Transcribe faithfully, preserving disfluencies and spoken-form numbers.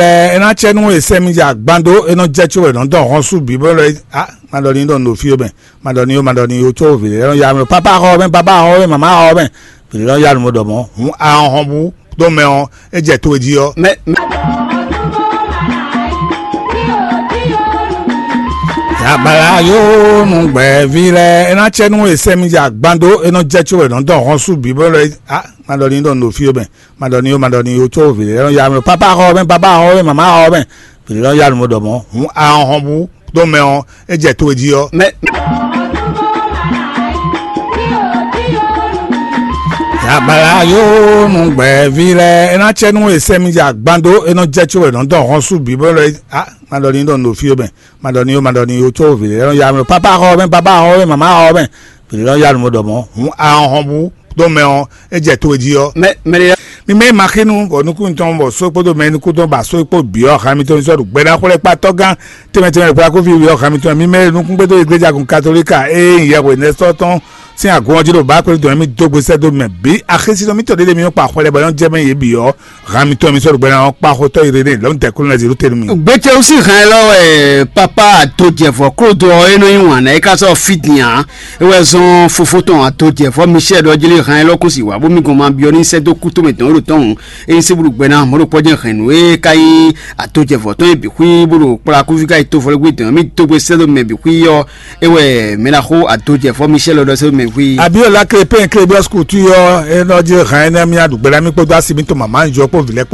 Ɛ, é ná cɛ nú e sɛ́ mì jɛ agban dó, é nɔ jɛ có wɛ nɔ dɔn hɔn sú bǐ bɔ lɔ. A, ma ɖɔ ní ɖɔ nǔ ɖo fí ó mɛ, ma ɖɔ ní ó, ma ɖɔ ní ó có vǐ lɛ́ɛ nɔ ya mɛ. Papa xɔ mɛ, baba xɔ mɛ, mama xɔ mɛ, vǐ lɛ́ɛ nɔ ya nǔ ɖɔ mɔ̌. Hǔn a hɔn bú dó mɛ ɔ́, é jɛ to e jí ɔ́. Mɛ, mɛ. Yabala yo nu gbɛ̌ví lɛ́ɛ, é ná cɛ nú e sɛ́ mì jɛ agban dó, é nɔ jɛ có wɛ nɔ dɔn hɔn sú bǐ bɔ lɔ. A, ma ɖɔ ní ɖɔ nǔ ɖo fí ó mɛ, ma ɖɔ ní ó, ma ɖɔ ní ó có vǐ lɛ́ɛ nɔ ya mɛ. Papa xɔ mɛ, baba xɔ mɛ, mama xɔ mɛ, vǐ lɛ́ɛ nɔ ya nǔ ɖɔ mɔ̌. Hǔn a hɔn bú dó mɛ ɔ́, é jɛ to e jí ɔ́. Mɛ. Yabala yo nu gbɛ̌ví lɛ́ɛ, é ná cɛ nú e sɛ́ mì jɛ agban dó, é nɔ jɛ có wɛ nɔ dɔn hɔn sú bǐ bɔ lɔ. A, ma ɖɔ ní ɖɔ nǔ ɖo fí ó mɛ, ma ɖɔ ní ó, ma ɖɔ ní ó có vǐ lɛ́ɛ nɔ ya mɛ. Papa xɔ mɛ, baba xɔ mɛ, mama xɔ mɛ, vǐ lɛ́ɛ nɔ ya nǔ ɖɔ mɔ̌. Hǔn a hɔn bú dó mɛ ɔ́, é jɛ to e jí ɔ́. Mɛ, mɛ ɖé. Mi mɛ ma xínú bɔ nukún tɔn bɔ só kpódó mɛ nukún tɔn ba só kpó bǐ ɔ́, hami tɔn sɔ́ ɖo gbɛɖá xwlɛ́kpatɔ́ gán tɛnmɛ tɛnmɛ ɖo kplá kófí wǐ ɔ́, hami tɔn mi mɛ nukún kpódó igleja gun katolíka e nyí yɛhwe nɛsɔ́ tɔn sín agɔn ɔ́ jí ɖo bǎ kpɛ́ tɔn mi dó gbe sɛ́ dó mɛ bǐ. Axésinɔ mítɔn ɖé ɖé mi nɔ kpa xwlɛ bɔ é nɔ jɛ mɛ yě bǐ ɔ́, hami tɔn mi sɔ́ ɖo gbɛɖá ɔ́ kpá xotɔ́ Irénée lɔ̌n tɛkúnlɛ zǐ ɖó tenu mi. Gbétɛ́wú sín hɛn élɔ́ wɛ papa àtojɛvɔ klódo ɔ́ é nɔ nyi wǎn ná é ká sɔ́ fí din ǎ. É wɛ zɔ́n fofó tɔn àtojɛvɔ Michel ɖɔ jlí hɛn élɔ́ kún sì wǎ bó mì gɔn ma byɔ́ ní sɛ́ dó kú tomɛ tɔn é ɖo tɔ́hún. É nyí sébúɖu gbɛ ná mɔ̌ ɖo kpɔ́ jɛ́n hɛ̌nnu é ka nyí àtojɛvɔ tɔn é bǐ xwí bó ɖo kplá kúví ká yi tovɔlɛ́gbé dɔn mì dó gbe sɛ́ dó mɛ bǐ xwí ɔ́. É wɛ mɛ ná xó àtojɛvɔ Michel ɖɔ sɛ́ dó mɛ xwí. Abiyɔla Krepɛn Klebiyɔs Kutu ɔ́, é nɔ jlí hɛn énɛ́ mì aɖu gbɛ ná mì kpódó asi mítɔn mama jɔ kpó vǐ lɛ́ɛ kpó.